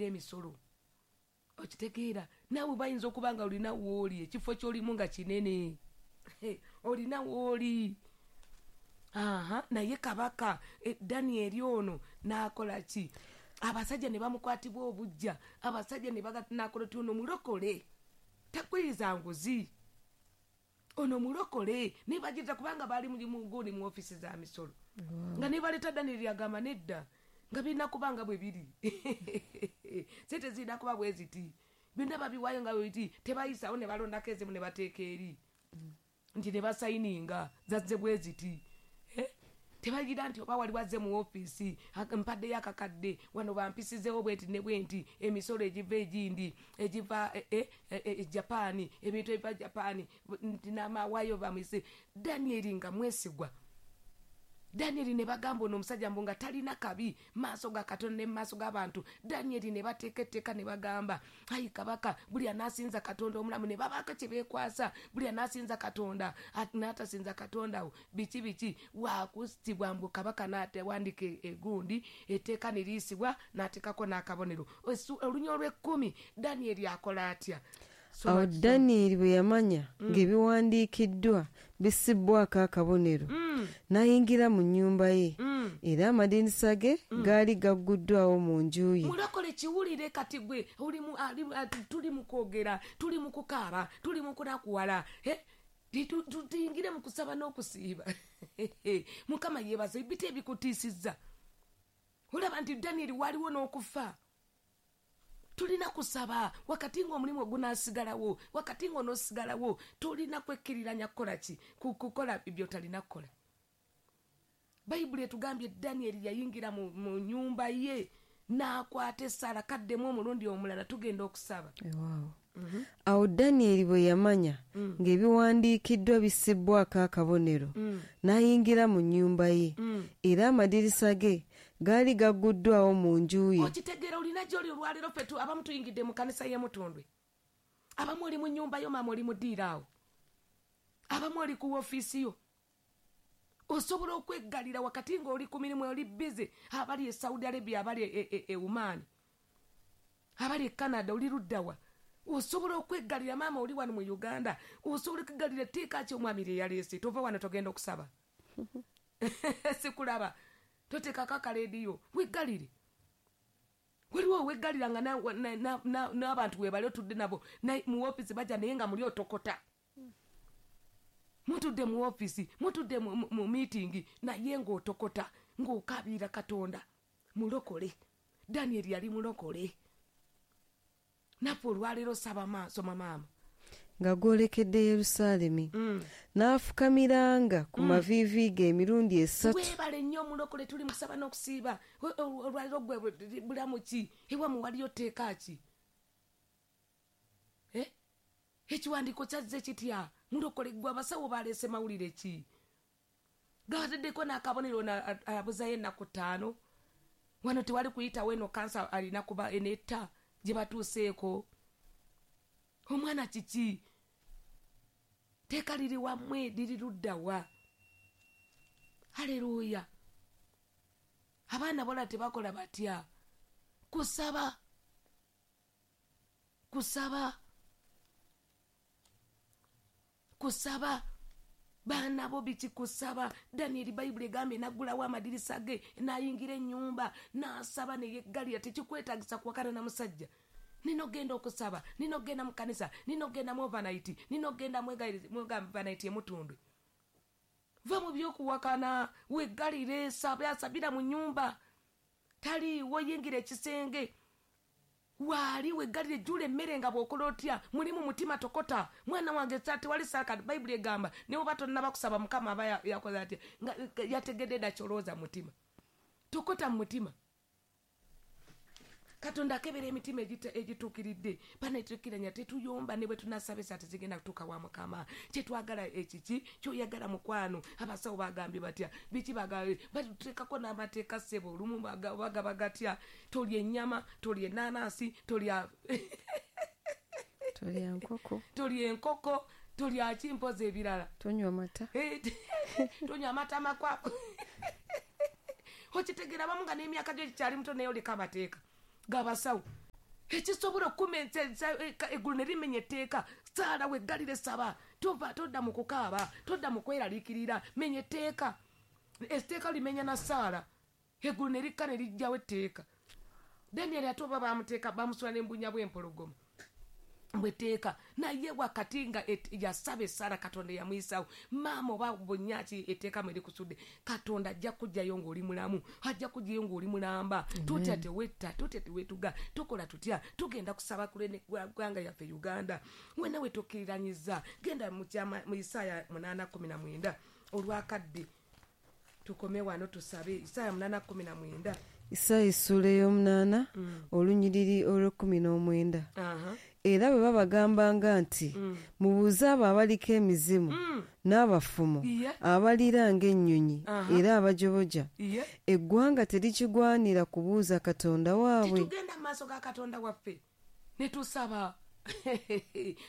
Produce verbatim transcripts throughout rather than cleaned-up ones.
abakulira emisolo. Okitegeera? Naawe bayinza okuba nga olina wooli, ekifo ky'olimu nga kinene, olina wooli. Aha, naye kabaka e, Danieri ono n'akola ki? Abasajja ne bamukwatibwa obujja, abasajja ne baganakola ti ono mulokole, takkiriza nguzi, ono mulokole. Ne bagirita kubanga baali muguni mu ofiisi za misolo. Nga ne baleeta Danieri agamba nedda, nga birina kuba nga bwe biri, sente zirina kuba bwe ziti, byonna babiwaayo nga bwe biti, tebayisawo ne balondako ezimu ne bateeka eri nti ne basayininga zazze bwe ziti. Eh? Tebagira nti oba wali wazze mu ofiisi, mpaddeyo akakadde wano, bampisizeewo bwenti ne bwenti, emisolo egiva egindi egiva e, e, e, e, Japaani, ebintu ebiva Japaani, nti namawaayo bamwise. Danieri nga mwesigwa. Danieri ne bagamba ono omusajja mbu nga talina kabi maaso ga Katonda ne maaso g'abantu. Danieri ne bateeka etteeka ne bagamba, ayi kabaka, buli anaasinza Katonda omulamu, ne babaako kye beekwasa, buli anaasinza Katonda n'atasinza Katonda wo biki biki wakusitibwa. Mbu kabaka n'atewandika egundi etteeka ne liyisibwa, n'ateekako n'akabonero. Olunya olw'ekkumi, Danieri akola atya? Awo Danyeri bwe yamanya mm. ng'ebiwandiikiddwa bissibbwako akabonero, mm. n'ayingira mu nnyumba ye, mm. era amadirisa ge gaali gagguddwawo mu nju ye. Mulokole, kiwulire kati gwe tuli mu kwogera, tuli mu kukaaba, tuli mu kunakuwala, tuyingire mu kusaba n'okusiiba. Mukama yeebaza ebiti ebikutiisizza. Olaba nti Danyeri waliwo n'okufa. Tulina kusaba wakati ng'omulimu ogunaasigalawo, wakati ng'onoosigalawo. Tulina kwekkiriranya kukola ki? Kukola byotalina kukola. Bayibuli etugambye Danyeri yayingira mu, mu nyumba ye n'akwata essaala. Kaddemu omulundi omulala, tugenda okusaba. Wow. Mm -hmm. Awo Danyeri bwe yamanya mm. ng'ebiwandiikiddwa bissibbwako akabonero, mm. n'ayingira mu nnyumba ye, mm. era amadirisa ge gaali gagguddwawo mu nju ye. Okitegeera? Olina gy'oli olwaleero, ffe abamu tuyingidde mu kanisa y'emutundwe, abamu oli mu nnyumba yo, maama oli mu ddiiro awo, abamu oli ku ofiisi yo. Osobola okweggalira wakati ng'oli ku mirimu, oli busy, abali e Saudi Arabia, abali e, e, e Oman, abali e Canada, oli luddawa, osobola okweggalira. Maama oli wano mu Uganda, osobola okweggalira. Etteeka ki omwami lye yaleese? Tova wano, togenda okusaba, sikulaba, toteekako akaleediyo, weggalire. Waliwo oweggalira nga n'abantu webali otudde nabo mu ofiisi, bajja naye nga muli otokota. Mutudde mu ofiisi, mutudde mu miitingi, naye ng'otokota, ng'okaabirira Katonda. Mulokole, Danyeri yali mulokole. Naffe olwaleero saba, soma maama. Nga gwolekedde Yerusaalemi, mm. n'afukamiranga ku mm. maviivi ge emirundi esatu. Weebale nnyo omulokole. Tuli musaba n'okusiiba olwaleero. Gwe bulamu ki ewamu? Waliyo tteeka ki? Eh? Ekiwandiiko kyazze kitya? Mulokole gwe, abasawo baleese mawulire ki? Gabateddeko n'akabonero, abuzayo ennaku ttaano, wano tewali kuyitawo, eno kansa alina kuba enetta gye batuuseeko omwana kiki? Teeka liri wammwe, liri luddawa? Aleluuya. Abaana bola tebakola batya? Kusaba, kusaba, kusaba. Baana bo biki? Kusaba. Danieri, Bayibuli egambye naggulawo amadirisa ge, n'ayingira ennyumba, n'asaba neyeggalira. Tekikwetagisa kuwakana na musajja. Nina ogenda okusaba, nina ogenda mu kanisa, nina ogenda mu overnight, nina ogenda mu overnight emutundwe. Va mu byokuwakana, weggalire, saba, asabira mu nyumba. Taliiwo, yingira ekisenge, waali weggalire, jjula emmere nga bw'okola otya, muli mu mutima tokota. Mwana wange, tewali saaka. Bayibuli egamba ne oba tonnaba kusaba, Mukama aba yakoze atya? Nga yategedde dda kyolowooza mutima. Tokota mu mutima. Katonda akebera emitima egituukiridde. Banetukiranya, tetuyomba, ne bwe tunasaba esa tezigenda kutuuka wa Mukama. Kyetwagala ekiki kyoyagala, mukwano? Abasawo bagambye batya? Biki bagambye? Batuteekako n'amateeka, ssebo. Olumu bagaba gatya? Tolya ennyama, tolya enanansi, tolya Tolya nkoko. Tolya enkoko, tolya kimpozi ebirala. Tonywa mata. Tonywa amata makwafu. Okitegeera? Bamu nga n'emyaka gyo gikyali muto, naye oleka amateeka gabasawo. Ekisobola okumensa eggulu ne limenya etteeka, saala weggalire saba, tova todda mu kukaaba, todda mu kweraliikirira, menya etteeka. Etteeka limenya na saala, eggulu ne likka ne lijjawo etteeka. Daniel ate oba bamuteeka bamusula n'embunya bw'empologoma bwetteeka, naye wakati nga yasaba essaala Katonda yamuyisaawo. Maama oba bunnyaki etteeka mwe likusudde, Katonda ajja kujjayo ng'oli mulamu, ajja kujjayo ng'oli mulamba. Tutya tewetta, tutya teweetuga, tukola tutya? Tugenda kusaba ku lw'eggwanga lyaffe Uganda. Wenna we tokkiriranyiza, genda mu Isaaya munaana kkumi na mwenda olwakadde tukome wano tusabe. Isaaya munaana kkumi na mwenda. Isaaya essuula ey'omunaana olunyiriri olw'ekkumi n'omwenda. Era bwe babagambanga nti mubuuze abo abaliko emizimu n'abafumu abalira ng'ennyonyi era abajoboja, eggwanga terikigwanira kubuuza Katonda waabwe. Titugenda mu maaso ga Katonda waffe ne tusaba.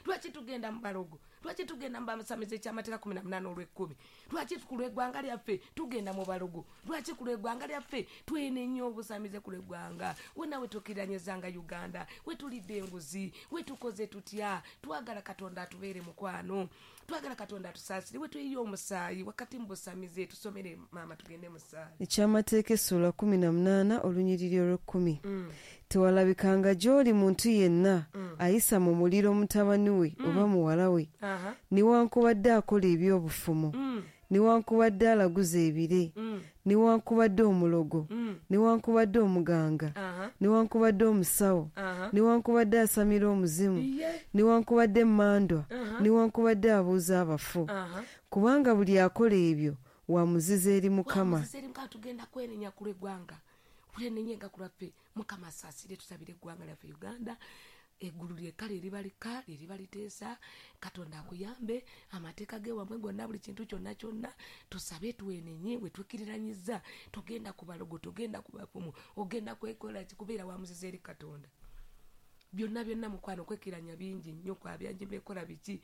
Lwaki tugenda mu balogo? Lwaki tugenda mu basamize ekyamateeka kumi na munaana olw'ekkumi? Lwaki ku lw'eggwanga lyaffe tugenda mu balogo? Lwaki ku lw'eggwanga lyaffe twenenya obusamize ku lw'eggwanga? Wonna we tukkiranyizanga Uganda, we tulidde enguzi, we tukoze tutya? Twagala Katonda atubeere mukwano, twagala Katonda atusaasire, we tuyiye omusaayi wakati mu busamize. Tusomere maama, tugende mu ssaala. Ekyamateeka essuula kumi na munaana olunyiriri olw'ekkumi. Tewalabikanga gy'oli muntu yenna ayisa mu muliro mutabani we oba muwala we, newankubadde akola ebyobufumu, newankubadde alaguza ebire, newankubadde omulogo, newankubadde omuganga, newankubadde omusawo, newankubadde asamira omuzimu, newankubadde emmandwa, newankubadde abuuza abafu. Kubanga buli akola ebyo wa muzizo eri Mukama. Tugenda kwenenya ku lw'eggwanga, kwenenyenga ku lwaffe. Mukama asaasire, tusabire eggwanga lyaffe Uganda. Eggulu lyekka lyeriba likka, lyeriba liteesa. Katonda akuyambe, amateeka ge wammwe gonna, buli kintu kyonna kyonna tusabe, twenenye. We tukkiriranyiza, togenda ku balogo, togenda ku bafumu, ogenda kwekola kubeera wa muzizo eri Katonda. Byonna byonna mukwano kwekkiranya bingi nnyo, kwa byangi bekola biki,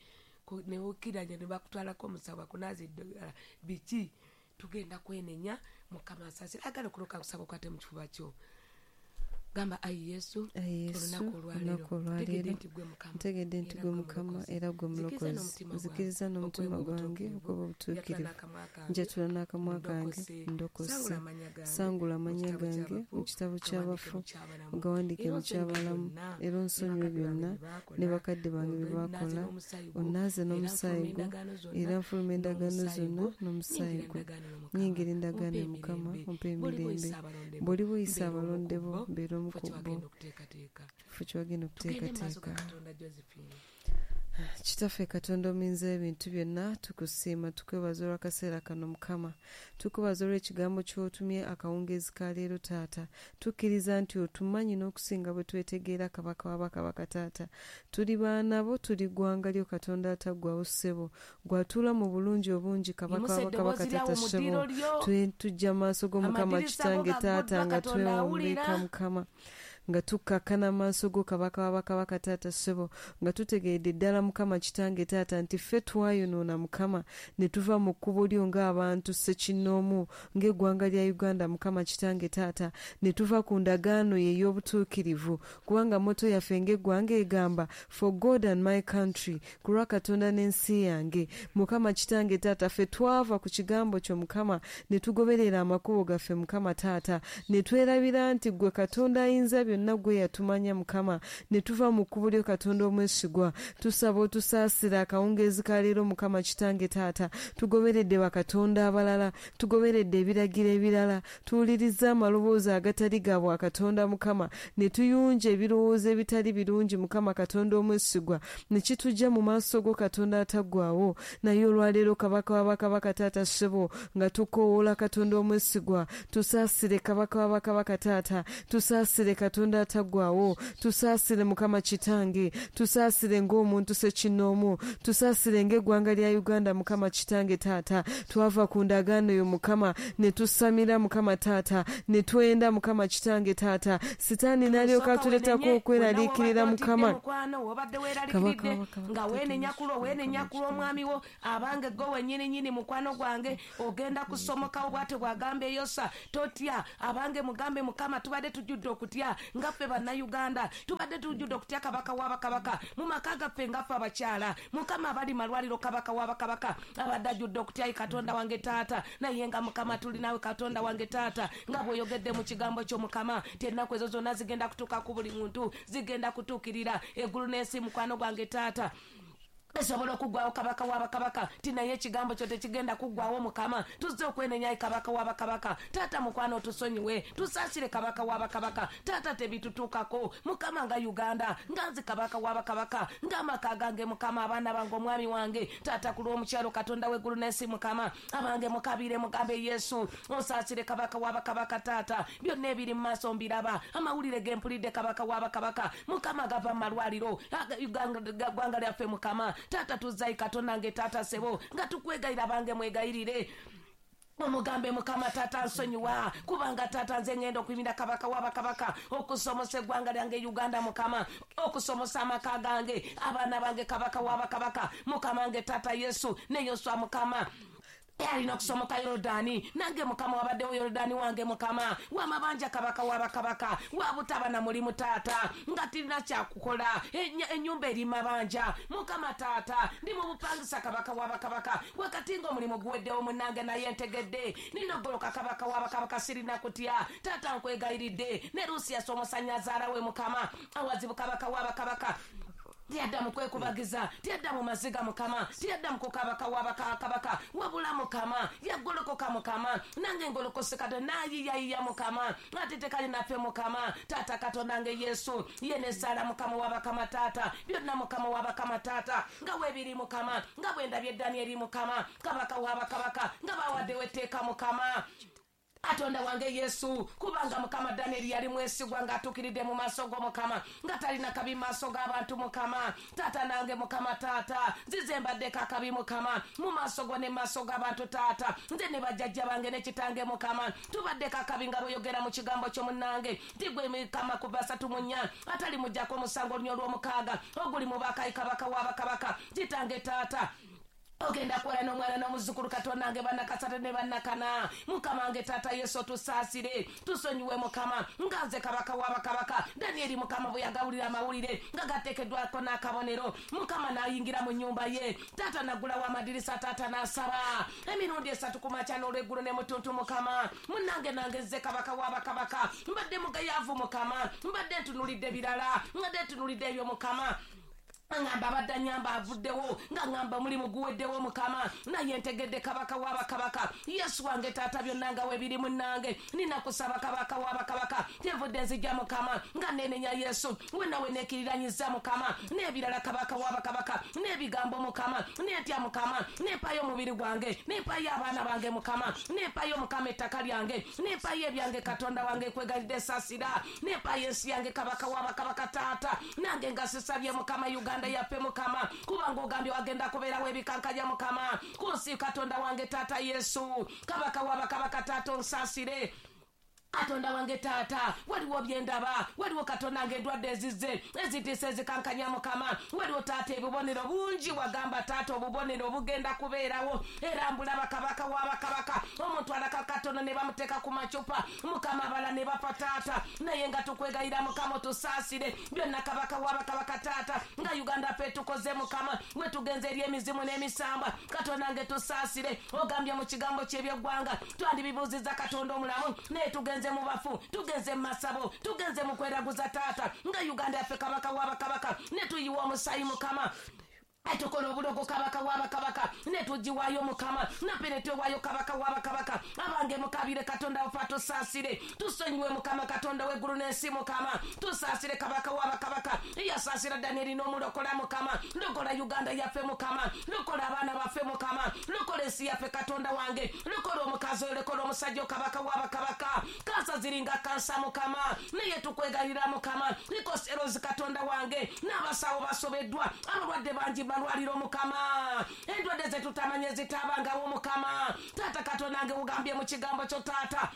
newokkiranya ne bakutwalako omusawo akunaaza eddagala biki. Tugenda kwenenya, Mukama asaasire. Agala okuloka kusaba okwate mu kifuba kyo. Gamba, ayi Yesu, olunaku olwaleero ntegedde nti gwe Mukama era gwe Mulokozi. Nzikiriza n'omutima gwange okuba obutuukirivu, njatula n'akamwa kange ndokose. Sangula amannya gange mu kitabo ky'abafu, ogawandiike mu ky'abalamu, era onsonyiwe byonna ne bakadde bange bye baakola. Onnaaze n'omusaayi gwo, era nfuluma endagaano zonna n'omusaayi gwo. Nnyingira endagaano ya Mukama, ompe emirembe. Bw'oli buyisa abalonde bo, mbeera omu ku bo. Kifo ky'wagenda okuteekateeka. Kitaffe Katonda omuyinza ebintu byonna, tukusiima, tukwebaza olw'akaseera kano Mukama. Tukwebaza olw'ekigambo ky'otumye akawungeezi ka leero Taata. Tukkiriza nti otumanyi n'okusinga bwe twetegeera, Kabaka wa bakabaka Taata. Tuli baana bo, tuli ggwanga lyo Katonda ataggwaawo ssebo. Gw'atuula mu bulungi obungi, Kabaka wa bakabaka Taata ssebo. Tujja maaso go Mukama Kitange Taata nga twewombeeka Mukama, nga tukkakkana amaaso go Kabaka wa bakabaka Taata ssebo, nga tutegeedde ddala Mukama Kitange Taata nti ffe twayonoona Mukama ne tuva mu kkubo lyo ng'abantu ssekinnoomu ng'eggwanga lya Uganda Mukama Kitange Taata, ne tuva ku ndagaano ye ey'obutuukirivu, kubanga motto yaffe ng'eggwanga egamba for God and my country, ku lwa Katonda n'ensi yange. Mukama Kitange Taata, ffe twava ku kigambo kyo Mukama ne tugoberera amakubo gaffe Mukama Taata, ne twerabira nti ggwe Katonda ayinza byonna gwe yatumanya Mukama, ne tuva mu kkubo lyo Katonda omwesigwa. Tusaba otusaasira akawungeezi ka leero Mukama Kitange Taata. Tugoberedde bakatonda abalala, tugoberedde ebiragiro ebirala, tuwuliriza amaloboozi agatali ga bwakatonda Mukama, ne tuyunja ebirowoozo ebitali birungi Mukama Katonda omwesigwa, ne kitujja mu maaso go Katonda ataggwaawo. Naye olwaleero Kabaka wa bakabaka Taata ssebo, nga tukoowoola Katonda omwesigwa, tusaasire Kabaka wa bakabaka Taata, tusaasire Katonda ataggwaawo, tusaasire Mukama Kitange, tusaasire ng'omuntu ssekinnoomu, tusaasire ng'eggwanga lya Uganda Mukama Kitange Taata. Twava ku ndagaano yo Mukama ne tusamira Mukama Taata, ne twenda Mukama Kitange Taata. Sitaani n'alyoka atuleetako okweraliikirira Mukama. Obadde weeraliikiridde nga weenenya kulo, weenenya kulo omwami wo, abange gwe wennyini nnyini mukwano gwange, ogenda kusomokawo bw'atyo bw'agamba Yosa. Totya, abange mugambe Mukama, tubadde tujjudde okutya, nga ffe bannayuganda tubadde tujjudde okutya kabaka w'abakabaka mu maka gaffe nga ffe abakyala mukama abali malwaliro kabaka w'abakabaka abadde ajjudde okutya katonda wange taata naye nga mukama tuli naawe katonda wange taata nga bw'oyogedde mu kigambo kyo mukama ti ennaku ezo zonna zigenda kutuuka ku buli muntu zigenda kutuukirira eggulu n'ensi mukwano gwange taata esobola okuggwawo kabaka w'abakabaka ti naye ekigambo kyo tekigenda kuggwawo mukama tuzze okwenenya kabaka w'abakabaka taata mukwano otusonyiwe tusaasire kabaka w'abakabaka taata tebitutuukako mukama nga Uganda nga nze kabaka w'abakabaka ng'amaka gange mukama abaana bange omwami wange taata ku lw'omukyalo katonda w'eggulu n'ensi mukama abange mukabire mugambe Yesu osaasire kabaka w'abakabaka taata byonna ebiri mu maaso mbiraba amawulire ge mpulidde kabaka w'abakabaka mukama gava mu malwaliro ggwanga lyaffe mukama taata tuzzayi katonda nge taata sebo nga tukwegayira bange mwegayirire omugambe mukama taata nsonyiwa kubanga taata nze ngenda okuyimira kabaka w'abakabaka okusomosa eggwanga lyange Uganda mukama okusomosa amaka gange abaana bange kabaka w'abakabaka mukama nge taata Yesu ne Yoswa mukama alina okusomoka Yorodani nange mukama wabaddewo Yorodani wange mukama wamabanja kabaka w'abakabaka wabutabana mulimu taata nga tirina kyakukola ennyumba eri mabanja mukama taata ndi mu bupangisa kabaka w'abakabaka wakati ng'omulimu guweddewo munnange naye ntegedde ninogoloka kabaka w'abakabaka sirina kutya taata nkwegayiridde ne Rusi yasomosa nnyazaala we mukama awazibu kabaka w'abakabaka tiyadda mu kwekubagiza tiyadda mu maziga mukama tiyadda mu kukabaka w'abakabaka wabula mukama yagolokoka mukama nange ngolokose katonda naayiyayiya mukama ate tekali naffe mukama taata katonda nge Yesu ye ne Saala mukama w'abakama taata byonna mukama w'abakama taata nga weebiri mukama nga bwe ndabye Danieri mukama kabaka w'abakabaka nga bawaddewo etteeka mukama katonda wange Yesu kubanga mukama Danieli yali mwesigwa ng'atuukiridde mu maaso go mukama nga talina kabi mu maaso g'abantu mukama taata nange mukama taata nzize mbaddeko akabi mukama mu maaso go ne mu maaso g'abantu taata nze ne bajjajja bange ne kitange mukama tubaddeko akabi nga bweyogera mu kigambo kyo munnange nti gwe mukama kuva asatu mu nnya atali muggyako omusango olunya olw'omukaaga oguli mu bakayi kabaka w'abakabaka kitange taata ogenda kukola n'omwana n'omuzzukulu katonda nge bannakasatu ne bannakana mukama nge taata Yesu tusaasire tusonyiwe mukama nga nze kabaka w'abakabaka Danieri mukama bwe yagawulira amawulire nga gateekeddwako n'akabonero mukama n'ayingira mu nnyumba ye taata n'aggulawo amadirisa taata n'asaba emirundi esatu ku makya n'olweggulo ne mutuntu mukama munnange nange nze kabaka w'abakabaka mbadde mugayaavu mukama mbadde ntunulidde birala mbadde ntunulidde ebyo mukama ngamba abadde annyamba avuddewo nga ngamba omulimu guweddewo mukama naye ntegedde kabaka w'abakabaka Yesu wange taata byonna nga weebiri munnange nina kusaba kabaka w'abakabaka kyenvudde nzijja mukama nga neenenya Yesu wenna we neekiriranyiza mukama n'ebirala kabaka w'abakabaka n'ebigambo mukama n'entya mukama nempayo omubiri gwange nempayo abaana bange mukama nempayo mukama ettaka lyange nempayo ebyange katonda wange kwegalidde saasira nempayo ensi yange kabaka w'abakabaka taata nange nga sisabye mukama Uganda yaffe mukama kubanga ogambye wagenda kubeerawo ebikankanya mukama ku nsi katonda wange taata Yesu kabaka w'abakabaka taata onsaasire katonda wange taata waliwo byendaba waliwo katonda nge endwadde ezizze ezitiisa ezikankanya mukama waliwo taata ebubonero bungi wagamba taata obubonero bugenda kubeerawo era mbulaba kabaka w'abakabaka omuntu alaka katono ne bamuteeka ku macupa mukama abala ne bafa taata naye nga tukwegayira mukama otusaasire byonna kabaka w'abakabaka taata nga Uganda ffe tukoze mukama we tugenze eri emizimu n'emisamba katonda nge tusaasire ogambye mu kigambo ky'ebyeggwanga twandibibuuzizza katonda omulamu naye tugenze mu bafu tugenze mu masabo tugenze mu kweraguza taata nga Uganda yaffe kabaka w'abakabaka ne tuyiwa omusaayi mukama tukola obulogo kabaka w'abakabaka ne tugiwaayo mukama naffe ne twewaayo kabaka w'abakabaka abange mukabire katonda waffe atusaasire tusonyiwe mukama katonda w'eggulu n'ensi mukama tusaasire kabaka w'abakabaka yasaasira Danieri n'omulokola mukama lokola Uganda yaffe mukama lokola abaana baffe mukama lokola ensi yaffe katonda wange lokola omukazi oyo lokola omusajja kabaka w'abakabaka kansa ziringa kansa mukama naye tukwegayirira mukama likoserozi katonda wange n'abasawo basobeddwa abalwadde bangi malwaliro mukama endwadde zetutamanye zitabangawo mukama taata katonda nge ugambye mu kigambo kyo taata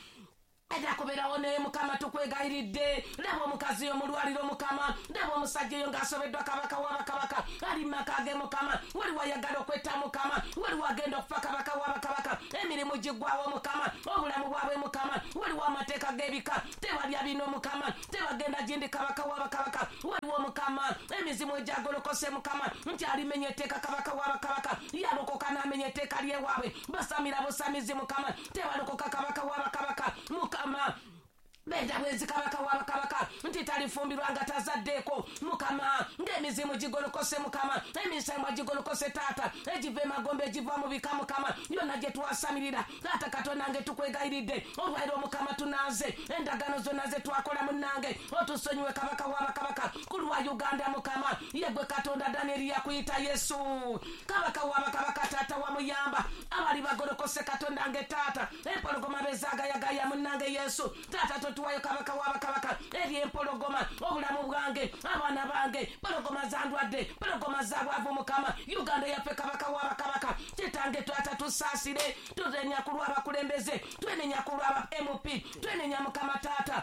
Eda kubeerawo naye mukama tukwegayiridde laba omukazi omulwaliro mukama laba omusajja oyo ng'asobeddwa kabaka w'abakabaka ali maka ge mukama waliwo ayagala okwetta mukama waliwo agenda okufa kabaka w'abakabaka emirimu giggwawo mukama obulamu bwabwe mukama waliwo amateeka g'ebika tebalya bino mukama tebagenda gindi kabaka w'abakabaka waliwo mukama emizimu egyagolokose mukama nti alimenya etteeka kabaka w'abakabaka yalokoka n'amenya etteeka lyewaabwe basamira busamizi mukama tebalokoka kabaka w'abakabaka mukama benda bwezi kabaka w'abakabaka nti talifumbirwa nga tazaddeeko mukama ng'emizimu gigolokose mukama emisambwa gigolokose taata egiva emagombe egiva mu bika mukama yonna gye twasamirira taata katonda nge tukwegayiridde olwairo mukama tunaaze endagaano zonna ze twakola munnange otusonyiwe kabaka w'abakabaka ku lwa Uganda mukama yegwe katonda Danieri yakuyita Yesu kabaka w'abakabaka taata wamuyamba abali bagolokose katonda nge taata empologoma bezaagayagaya munnange Yesu taata tuwayo kabaka w'abakabaka eri empologoma obulamu bwange abaana bange pologoma zandwadde pologoma zabwavu mukama Uganda yaffe kabaka w'abakabaka kitange twata tusaasire twenenya ku lw'abakulembeze twenenya ku lw'aba M P twenenya mukama taata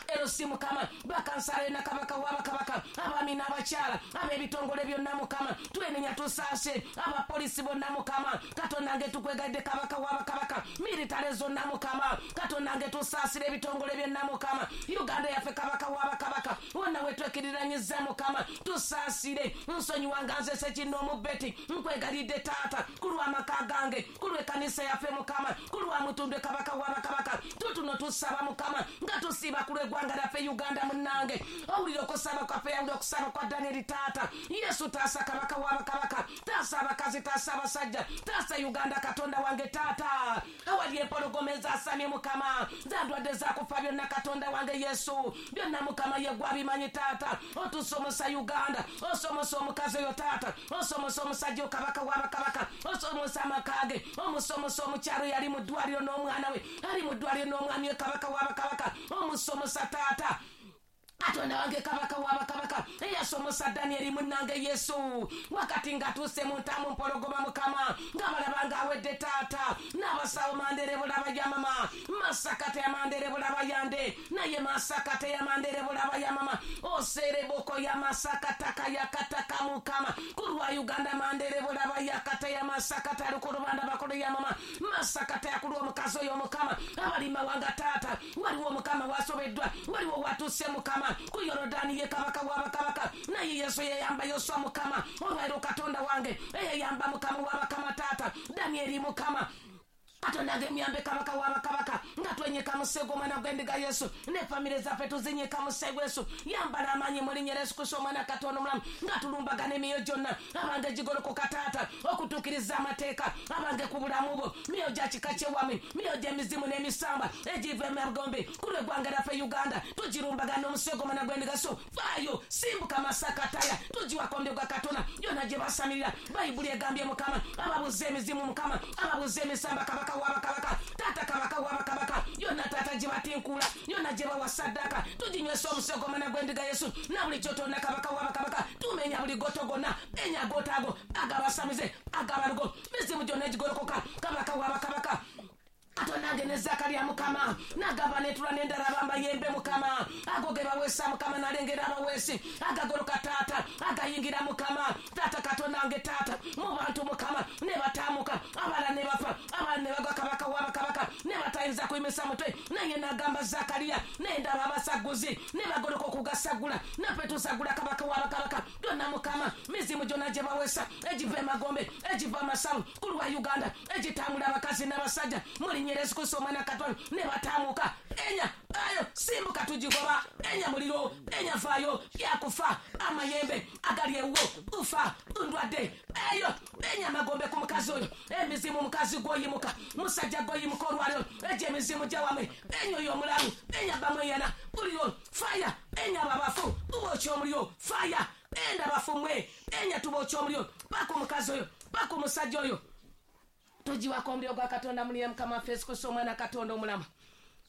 L C mukama bakansala na kabaka w'abakabaka abaami n'abakyala ab'ebitongole byonna mukama twenenya tusaase abapoliisi bonna mukama katonda nge tukwegaidde kabaka w'abakabaka militale zonna mukama katonda nge tusaasire ebitongole byonna mukama Uganda yaffe kabaka w'abakabaka wonna wetwekiriranyiza mukama tusaasire nsonyiwa nga nze Ssekinnoomu Betty nkwegalidde taata ku lw'amaka gange ku lw'ekkanisa yaffe mukama ku lwa Mutundwe kabaka w'abakabaka tutuno tusaba mukama nga tusiba ku lw'eggwanga lyaffe Uganda munnange owulira okusaba kwaffe yawulira okusaba kwa Danieri taata Yesu taasa kabaka w'abakabaka taasa abakazi taasa abasajja taasa Uganda katonda wange taata awali empologoma ezaasamye mukama zandwadde zakufa byonna katonda wange Yesu byonna mukama yegwe abimanyi taata otusomosa Uganda osomosa omukazi oyo taata osomosa omusajja kabaka w'abakabaka osomosa amaka ge omusomosa omukyalo yali mu ddwaliro n'omwana we ali mu ddwaliro n'omwami we kabaka w'abakabaka omusomosa taata katonda wange kabaka w'abakabaka eyasomosa Danieri munnange Yesu wakati ng'atuuse mu ntamu mpologoma mukama ng'abalaba ng'awedde taata n'abasawo mandere bulaba ya mama masakate ya mandere bulaba yande naye masakate ya mandere bulaba ya mama osereboko ya masakataka yakataka mukama ku lwa Uganda mandere bulaba yakata ya masakata alukulubanda bakolo ya mama masakata yakulwa omukazi oyo mukama abali mawanga taata waliwo mukama wasobeddwa waliwo watuuse mukama ku Yorodani ye kabaka w'abakabaka naye Yesu yeyamba Yoswa mukama olwairo katonda wange eyeyamba mukama w'abakama taata Danieri mukama katonda nge myambe kabaka w'abakabaka nga twenyeka musego omwana gw'endiga Yesu ne famire zaffe tuzinyeka musego Yesu yambala amaanyi mu linnya lya Yesu Kristo omwana katonda omulamu nga tulumbagana emyoyo gyonna abange gigolokoka taata okutuukiriza amateeka abange ku bulamu bwo myoyo gya kika kyewamwe myoyo gy'emizimu n'emisamba egiva emagombe ku lw'eggwanga lyaffe Uganda tugirumbagana omusego omwana gw'endiga Yesu faayo simbuka masakataya tugiwako omuliro gwa katonda yonna gye basamirira bayibuli egambye mukama ababuza emizimu mukama ababuza emisamba kabaka w'abakabaka taata kabaka w'abakabaka yonna taata gye batinkula yonna gye bawa saddaaka tuginywesa omusego omwana gw'endiga Yesu na buli kyotonda kabaka w'abakabaka tumenya buli goto gonna enya gotago agabasamize agabalugo mizimu gyonna egigolokoka kabaka w'abakabaka katonda nge ne Zakariya mukama nagamba netula n'endala bambayembe mukama ago ge baweesa mukama nalengera abaweesi agagoloka taata agayingira mukama taata katonda nge taata mu bantu mukama ne bataamuka abalala ne bafa abalala ne bagwa kabaka w'abakabaka ne batayinza kuyimisa mutwe naye nagamba Zakariya nendaba abasaguzi ne bagoloka okugasagula naffe tusagula kabaka w'abakabaka byonna mukama mizimu gyonna gye baweesa egiva emagombe egiva amasavu ku lwa Uganda egitambula abakazi n'abasajja muli Yesu Kristo omwana katonda ne bataamuka enya ayo simbuka tugigoba enya muliro enya faayo byakufa amayembe agali ewuwo ufa ndwadde eyo enya amagombe ku mukazi oyo emizimu mukazi gwoyimuka musajja gwoyimuka olwaliro egyo emizimu gyawamwe enya oyo omulalu enya bamweyana buliro faya enya ababafu tubookya omuliro faya enda bafumwe enya tubookya omuliro paka omukazi oyo paka omusajja oyo tugiwako omuliro gwa katonda muliye mukama waffe Yesu Kristo omwana katonda omulamu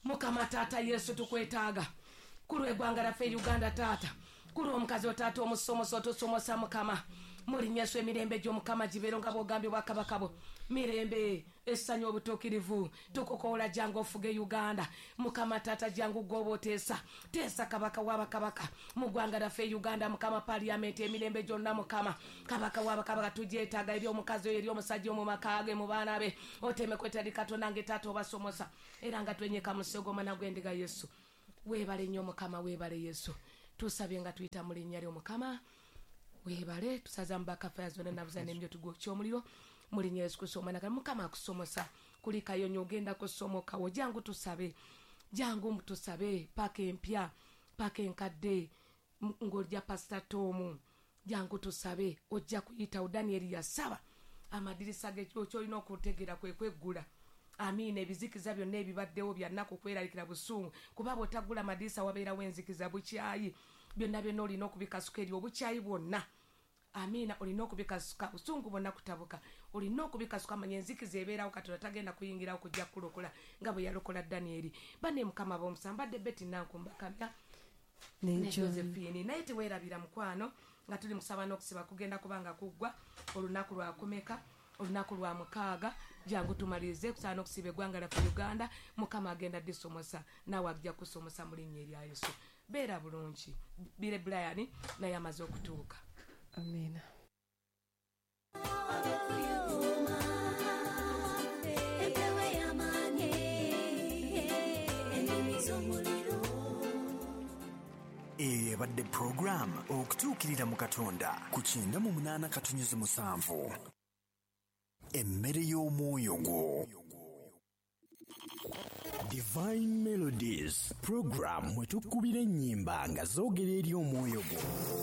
mukama taata Yesu tukwetaaga ku lw'eggwanga lyaffe Uganda taata ku lw'omukazi otaata omusomosa otusomosa mukama Mu linnya Yesu, emirembe gy'Omukama gibeero nga bw'ogambye obwakabaka bwo, mirembe, essanyu, obutuukirivu. Tukukoola, jangu ofuge Uganda. Mukama taata, jangu gwoba oteesa, teesa kabaka w'abakabaka mu ggwanga lyaffe Uganda. Mukama, paliyamenti emirembe gyonna, Mukama kabaka w'abakabaka, tugyetaaga eri omukazi oyo, eri omusajja omu maka ge, mu baana be, oteme kwetali Katonda nge taata obasomosa, era nga twenyeka mu ssegoma gw'endiga. Yesu weebale nnyo. Mukama weebale. Yesu, tusabye nga tuyita mu linnya ly'Omukama. Weebale. Tusaza mubaka faya zonna nabuza n'emyo tugwokya omuliro mu linnya Yesu Kristo omwana. Kale Mukama akusomosa, kulikayo nnyo, ogenda kusomokawo. Jangu tusabe, jangu tusabe, paka empya, paka enkadde, m- ng'ojja Pasita Tomu, jangu tusabe, ojja kuyitawo. Danieri yasaba amadirisa ge. Kyolina okutegeera kwe kweggula, amiina, ebizikiza byonna ebibaddewo byannaku, kweraliikira, busungu, kuba bw'otaggula amadirisa wabeerawo enzikiza, bukyayi, byonna byonna olina okubikasuka eri obukyayi bwonna, amiina. Olina okubikasuka, busungu bwonna, kutabuka olina okubikasuka. Manya enzikiza ebeerawo, Katonda tagenda kuyingirawo kujja kulokola nga bwe yalokola Danieri. Bane Mukama b'omusambadde Beti Nankumbakamya ne ne John. Josephine. Naye teweerabira mukwano, nga tuli musaba n'okusiba kugenda kubanga kuggwa olunaku lwakumeka? Olunaku lwa mukaaga. Jangu tumalirize kusaba n'okusiba eggwanga lyaffe Uganda. Mukama agenda disomosa, naawe ajja kusomosa mu linnya erya Yesu. Beera bulungi. Bire Brian naye amaze okutuuka. Amiina. Empewo ey'amaanyi, ennimi z'omuliro. Eyo ebadde puroguramu Okutuukirira mu Katonda ku kyenda mu munaana katunyuzi musanvu, emmere y'omwoyo gwo. Divine Melodies program mwe tukubira ennyimba nga zoogera eri omwoyo gwo.